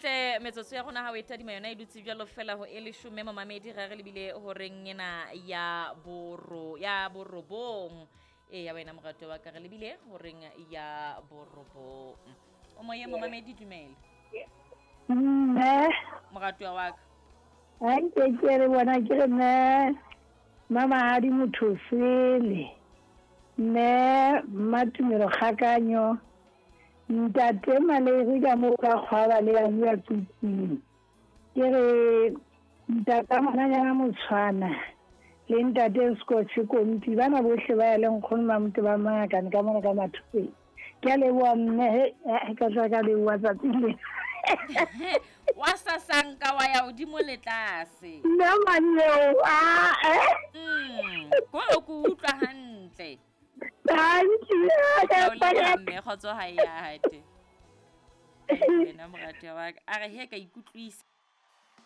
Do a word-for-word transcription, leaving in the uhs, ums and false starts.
Hantle metsotso ya rona ha o e tadima yona e dutse jwalo fela ho e leshome momamedi re re lebile horeng ena ya boro ya borobong. E ya wena morato wa ka re lebile horeng ya borobong. O moye momamedi dumela. Mme Moratuwa wa ka. Ha nke ke re bona ke re mme Mamahadi motho sele. Mme Mmatumelo Kgakanyo. Ntate Malere ka moo ka kgwaba le ya bua tsutsing. Ke re ntata ngwananyana Motshwana le ntate Scotch Kompi bana bohle ba ya le nkgono Mamote ba mangakane ka mona ka mathopeng. Ke a leboha mme he he ka tla ka leboha tsatsing lena. Wa sasanka wa ya hodimo le tlase. Nna manyeo ah eh. Mm, ko ko utlwa hantle. Thank you. Ke o leboha mme kgotso ha e ya hate. Wena moratuwa wa ka. A re he ka ikutlwisa.